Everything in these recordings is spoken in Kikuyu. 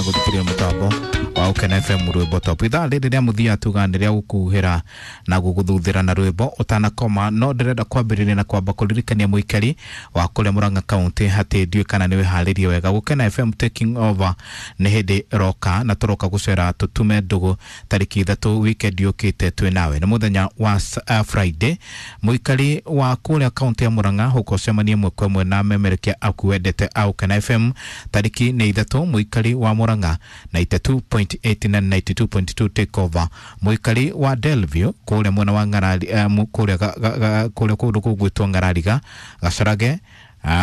gũthikĩrĩria mũtambo wa Ũkena FM rwĩmbo top. Ithaa rĩrĩ rĩa mũthia tuga nĩ rĩa gũkuhĩra na gũgũthuthĩra na rwĩmbo ũtanakoma, no ndĩrenda kwambĩrĩria na kwamba kũririkania mũikari wa kũrĩa Murang'a County atĩ ndiũĩ kana nĩ wĩharĩrie wega. Gũkena FM taking over nĩ hĩndĩ ĩroka na tũroka gũcera tũtume ndũgũ tarĩki 3 weekend yũkĩte twĩ nawe. Nĩ mũthenya wa Friday. Mũikari wa kũrĩa kaunti ya Murang'a huko ũcemanie ĩmwe kwa ĩmwe na memerekia aku wendete a Ũkena FM tarĩki nĩ 3 mũikari wa Murang'a 92.8 na 92.2 take over. Mũikari wa Delview kũrĩa mwena wa Ng'arari, kũrĩa kũrĩa kũndũ kũgwĩtwo Ng'arariga, Gacarage,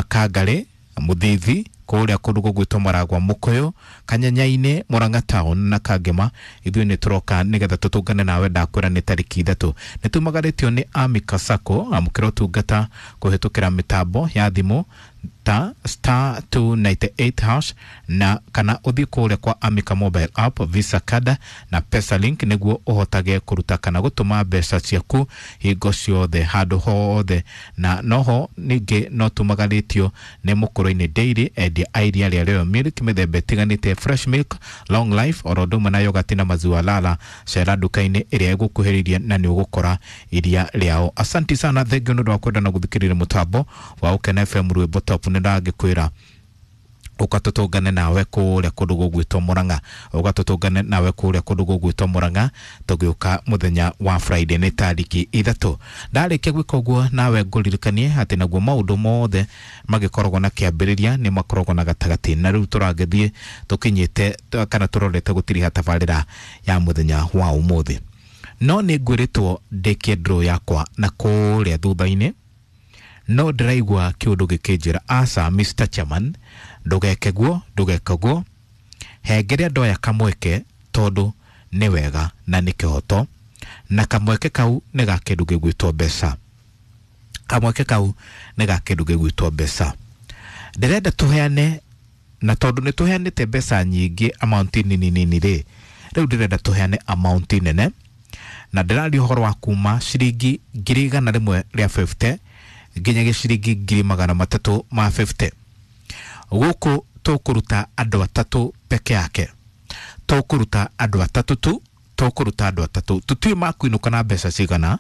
Kangari, Mũthithi, kũrĩa kũndũ gũgwĩtwo Maragwa, Mũkũyũ, Kanyanyainĩ, Murang'a town na Kangema. Ithuĩ nĩ tũroka nĩgetha tũtũngane nawe, ndakwĩra nĩ tarĩki 3. Nĩ tumagarĩtio nĩ Amika Sacco, amũkĩra ũtungata kũhĩtũkĩra mĩtambo ya thimũ ta star 298 hash na kana ũthiĩ kũrĩa kwa Amika mobile app, Visa card na Pesa link nĩguo ũhotage kũruta kana gũtũma mbeca ciaku hingo ciothe handũ hothe. Na noho ningĩ no tumagarĩtio nĩ Mũkũrũ-inĩ Dairy, endia a iria rĩa Royal Milk mĩthemba ĩtiganĩte, fresh milk, long life, oro ũndũ ũmwe na yogati na maziwa lala. Cera nduka-inĩ ĩrĩa ĩgũkuhĩrĩirie na nĩ ũgũkora iria rĩao. Asanti sana, thengiũ nĩ ũndũ wa kwenda na gũthikĩrĩria mũtambo wa Ũkena FM rwĩmbo top. Nĩ ndangĩkwĩra ũka tũtũngane nawe kũrĩa kũndũ gũgwĩtwo Murang'a, ũka tũtũngane nawe kũrĩa kũndũ gũgwĩtwo Murang'a tũgĩũka mũthenya wa Friday nĩ tarĩki 3. Ndarĩkia gwĩka ũguo nawe ngũririkanie atĩ naguo maũndũ mothe magĩkoragwo na kĩambĩrĩria nĩ makoragwo na gatagatĩ, na rĩu tũragĩthiĩ tũkinyĩte kana tũrorete gũtiriha tabarĩra ya mũthenya wa ũmũthĩ. No nĩ ngwĩrĩtwo ndĩkie draw yakwa na kũrĩa thutha-inĩ, no ndĩraigua kĩũndũ gĩkĩnjĩra aca, Mr Chairman, ndũgeke guo, ndũgeke guo, hengere andũ aya kamweke tondũ nĩ wega na nĩ kĩhoto, na kamweke kau nĩ ga kĩndũ gĩgwĩtwo mbeca. Kamweke kau nĩ ga kĩndũ gĩgwĩtwo mbeca. Ndĩrenda tũheane, na tondũ nĩ tũheanĩte mbeca nyingĩ amount nini nini rĩ, rĩu ndĩrenda tũheane amount nene, na ndĩraria ũhoro wa kuma ciringi 150,000 nginya gĩciringi 350,000. Gũkũ tũkũruta andũ atatũ peke yake, tũkũruta andũ atatũ tu, tũkũruta andũ atatũ. Tũtiũĩ makuinũka na mbeca cigana.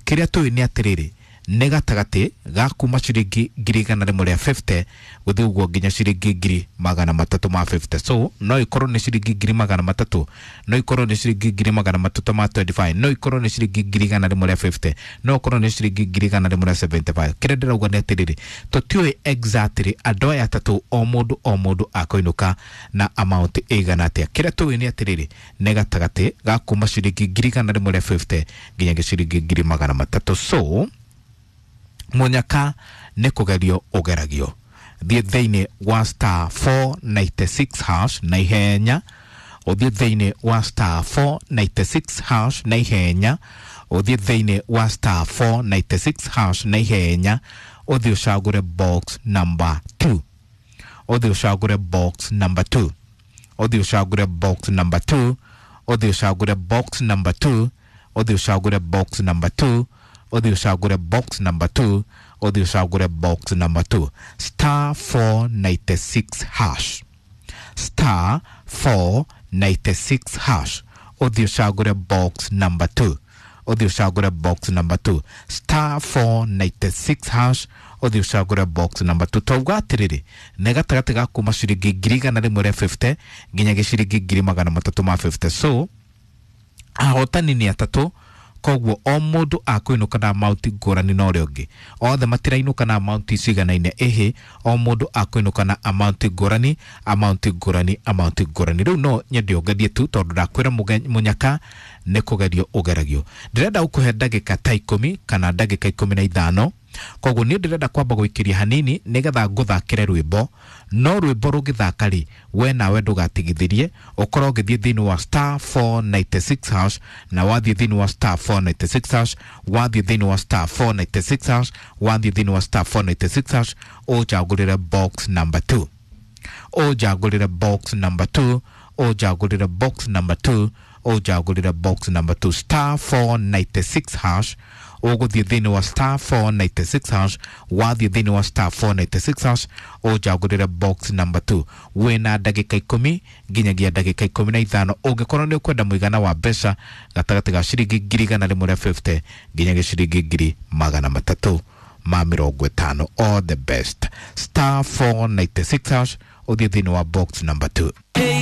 Kĩrĩa tũĩ nĩ atĩrĩrĩ, nĩ gatagatĩ ga kuma ciringi 150,000 gũthiĩ ũguo nginya ciringi 350,000. So no ikorwo nĩ ciringi 300,000, no ikorwo nĩ ciringi 325,000, no ikorwo nĩ ciringi 150,000, no ikorwo nĩ ciringi 175,000. Kĩrĩa ndĩrauga nĩ atĩrĩrĩ, tũtiũĩ exactly andũ aya atatũ o mũndũ o mũndũ akũinũka na amount ĩigana atĩa. Kĩrĩa tũĩ nĩ atĩrĩrĩ, nĩ gatagatĩ ga kuma ciringi 150,000 nginya ciringi 300,000. So mũnyaka nĩ kũgerio ũgeragio. Thiĩ thĩinĩ wa star 496 hash na ihenya, ũthiĩ thĩinĩ wa star 496 hash na ihenya, ũthiĩ thĩinĩ wa star 496 hash na ihenya, ũthiĩ ũcagũre box number 2, ũthiĩ ũcagũre box number 2, ũthiĩ ũcagũre box number 2, ũthiĩ ũcagũre box number 2, ũthiĩ ũcagũre box number 2, ũthiĩ ũcagũre box number 2, ũthiĩ ũcagũre box number 2, star 496 hash, star 496 hash, ũthiĩ ũcagũre box number 2, ũthiĩ ũcagũre box number 2, star 496 hash, ũthiĩ ũcagũre box number 2. Twauga atĩrĩrĩ, nĩ gatagatĩ ga kuma ciringi 150,000 nginya gĩciringi 350,000. So ahotani nĩ atatũ, koguo o mũndũ akũinũka na amount ngũrani na ũrĩa ũngĩ. Othe matirainũka na amount ciganaine, ĩhĩ, o mũndũ akũinũka na amount ngũrani, amount ngũrani, amount ngũrani. Rĩu no nyende ũgerie tu tondũ ndakwĩra mũnyaka nĩ kũgerio ũgeragio. Ndĩrenda gũkũhe ndagĩka ta 10 kana ndagĩka 15. Koguo niĩ ndĩrenda kwamba gũikĩria hanini nĩgetha ngũthakĩre rwĩmbo, no rwĩmbo rũgĩthaka rĩ, we nawe ndũgatigithĩrie, ũkorwo ũgĩthiĩ thĩinĩ wa star 496 hash, na wathiĩ thĩinĩ wa star 496 hash, wathiĩ thĩinĩ wa star 496 hash, wathiĩ thĩinĩ wa star 496 hash, ũnjagũrĩre box number 2, ũnjagũrĩre box number 2, Ũnjagũrĩre box number 2, ũnjagũrĩre box number 2, star 496 hash. Ũgũthiĩ thĩinĩ wa star 496 hash. Wathiĩ thĩinĩ wa star 496 hash, ũnjagũrĩre box number 2. Wĩna ndagĩka 10 nginyagia ndagĩka 15 ũngĩkorwo nĩ ũkwenda mũigana wa mbeca gatagatĩ ga ciringi 150,000 nginyagia ciringi 350,000. All the best. Star 496 hash, ũthiĩ thĩinĩ wa box number 2.